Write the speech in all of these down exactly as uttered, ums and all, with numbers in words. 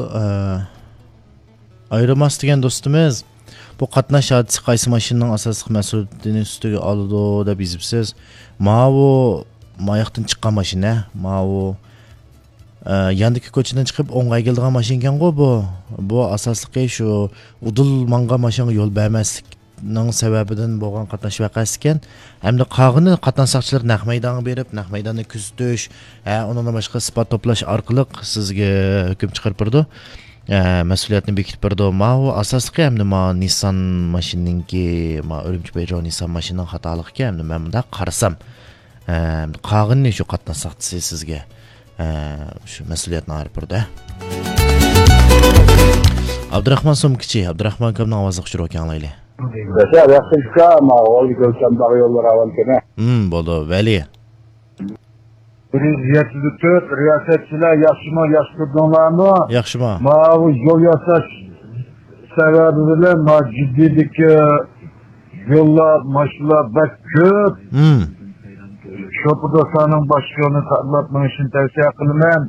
ئە، ئايرىماس دېگەن دوستىمىز، بۇ قاتناش ھادىسىسى قايسى ماشىنىنىڭ ئاساسلىق مەسئۇلىيىتىنى ئۈستىگە ئالىدۇ دەپ يېزىپسىز. ماۋۇ، ماياقتىن چىققان ماشىنا، ماۋۇ، ئە، ياندىكى كوچىدىن چىقىپ ئوڭغا ئەگىلىدىغان ماشىنىكەنغۇ بۇ. بۇ ئاساسلىقى شۇ ئۇدۇل ماڭغان ماشىنىغا يول بەرمەسلىكنىڭ سەۋەبىدىن بولغان قاتناش ۋەقەسىكەن. ھەمدە قالغىنى قاتناش ساقچىلىرى نەق مەيدانغا بېرىپ، نەق مەيداننى كۆزىتىش، ھە، ئۇنىڭدىن باشقا ئىسپات توپلاش ئارقىلىق سىزگە ھۆكۈم چىقىرىپ بېرىدۇ. ئە، مەسئۇلىيەتنى بېكىتىپ بېرىدۇ. ماۋۇ ئاساسلىقى ھەمدە ما نىسسان ماشىنىنىڭكى، ما ئۈرۈمچى پېيجو نىسسان ماشىنىنىڭ خاتالىقىكەن. ھەمدە مەن مۇنداق قارىسام، ئە، قالغىنىنى شۇ قاتناش ساقچىسى سىزگە، ئە، شۇ مەسئۇلىيەتنى ئايرىپ بېرىدۇ. ئابدۇراخمان سومكىچى، ئابدۇراخمان ئاكامنىڭ ئاۋازلىق ئۇچۇرى ئوكەي ئاڭلايلى. ياشا، ياخشى ئۇكا، ما ئويغا كۆرسەم داغ يوللار ئاۋانتىنە. ھىم، بولدى، ۋەلى. بىر يۈز يەتتە تۆت، رىياسەتچىلەر ياخشىمۇ، ياخشى تۇردۇڭلارمۇ؟ ياخشىمۇ؟ ماۋۇ يول ياساش سەۋەبى بىلەن ما جىددىيدىكى يوللار، ماشىنىلار بەك كۆپ. ھىم. شوپۇر دوستلارنىڭ باشقا يولنى ساقلاپ مېڭىشىنى تەۋسىيە قىلىمەن.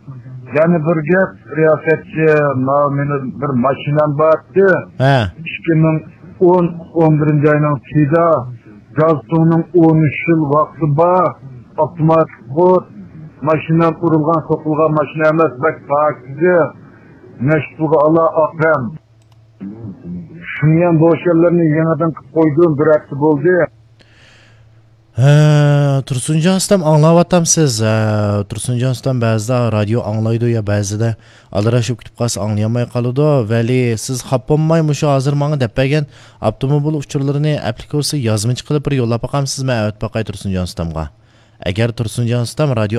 يەنە بىر گەپ، رىياسەتچى، ماۋۇ مېنىڭ بىر ماشىنام بار ئىدى. ھە. ئىككى مىڭ ئون، ئون بىرىنچى ئاينىڭ ئىككىسىدە گاز سۇنىڭ ئون ئۈچ يىل ۋاقتى بار، ئاپتوماتىك خود، ماشىنا ئۇرۇلغان، سوقۇلغان ماشىنا ئەمەس، بەك پاكىز، نەشپۇغا ئالا ئاقەم. شۇنىڭ بوشلارنى يېڭىدىن قىلىپ قويدۇم، بىر ھەپتە بولدى. ھە، تۇرسۇنجان ئۇستام ئاڭلاۋاتامسىز؟ ھە، تۇرسۇنجان ئۇستام بەزىدە رادىيو ئاڭلايدۇ يا بەزىدە ئالدىراش بولۇپ كېتىپ قالسا ئاڭلىيالماي قالىدۇ. ۋەلى، سىز خاپا بولماي مۇشۇ ھازىر ماڭا دەپ بەرگەن ئاپتوموبىل ئۇچۇرلىرىنى ئەپلىكاتسىيە يازمىچە قىلىپ بىر يوللاپ باقامسىز؟ مەن ئەۋەتىپ باقاي تۇرسۇنجان ئۇستامغا. ئەگەر تۇرسۇنجان ئۇستام رادىيو